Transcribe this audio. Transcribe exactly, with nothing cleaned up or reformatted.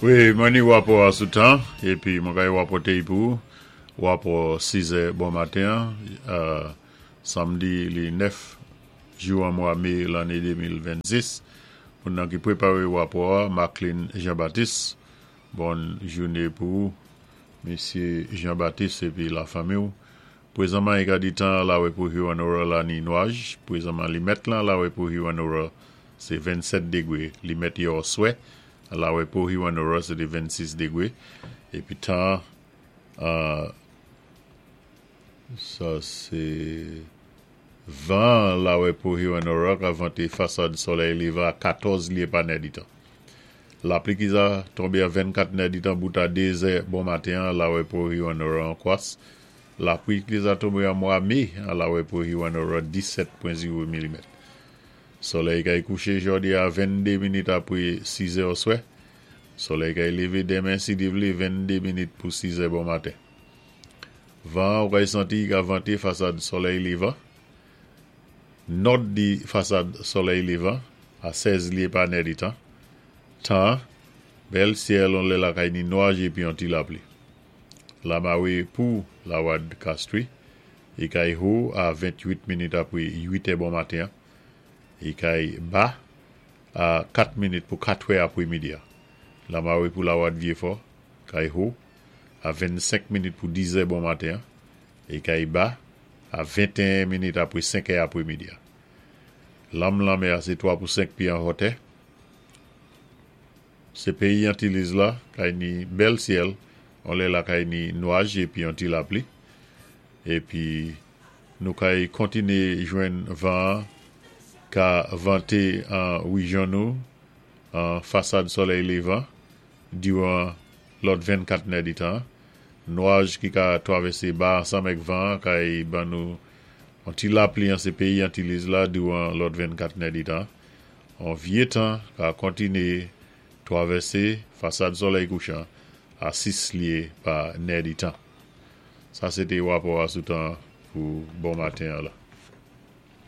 Wi, mwen ni wapò a sou tan, épi mwen kay wapòté pou wapò sizè bon maten, euh, sanmdi li nèf jou an mwa mé lanné de mil vennsis. Moun nan ki pwéparé wapò a, Maclean Jean-Baptiste. Bòn jouné pou Misyé Jean-Baptiste épi la fanmi. Pwézanman, i ka di tan la pou Hewanorra la ni nwaj. Pwézanman, li mèt lan la pou Hewanorra, sé vennsèt dégwé. Li mèt yè oswè. La pou Hewanorra, sé té vennsis dégwé. Épi tan, euh, sa sé van la pou Hewanorra ka vanté fasad solèy lévan a katòz lyé pa nèditan. Lapli ki za tonbé a vennkat nèditan bout a dé zè bon maten la pou Hewanorra an kwas. Lapli ki za tonbé an mwa mé la pou Hewanorra, disèt pwen zewo milimèt. Solèy kay kouché jòdi a venndé minit apwé sizè oswè. Solèy kay lévé denmen si Dye vlé venndé minit pou sizè bon maten. Van ou kay santi ka vanté fasad solèy lévan. Nòd di fasad solèy lévan a sèz lyé pa nèditan. Tan, bèl syèl, on lè la kay ni nwaj épi yon ti lapli. Lamawé pou Lawad Castries, i kay ho a venntwit minit apwé uit è bon maten. I kay ba a kat minit pou katwè apwé midi. Lamawé pou Lawad Vieux-Fort, kay ho a vennsenk minit pou dizè bon maten. I kay ba a venteyen minit apwé senkè apwé midi. Lanm lanmè a sé twa pou senk pyé an wotè. Sé péyi Antiliz la, kay ni bèl syèl, on lè la kay ni nwaj épi yon ti lapli. Épi nou kay kontiné jwenn van ka vanté an wéjyon nou an fasad solèy lévan diwan lòt vennkat nèditan. Nwaj ki ka twavèsé ba ansanm èk van kay ban nou an ti lapli an sé péyi Antiliz la diwan lòt vennkat nèditan. An vyé tan ka kontiné twavèsé fasad solèy kouchan a sis lyé pa nèditan. Sa sé té wapò a sou tan pou bon maten la.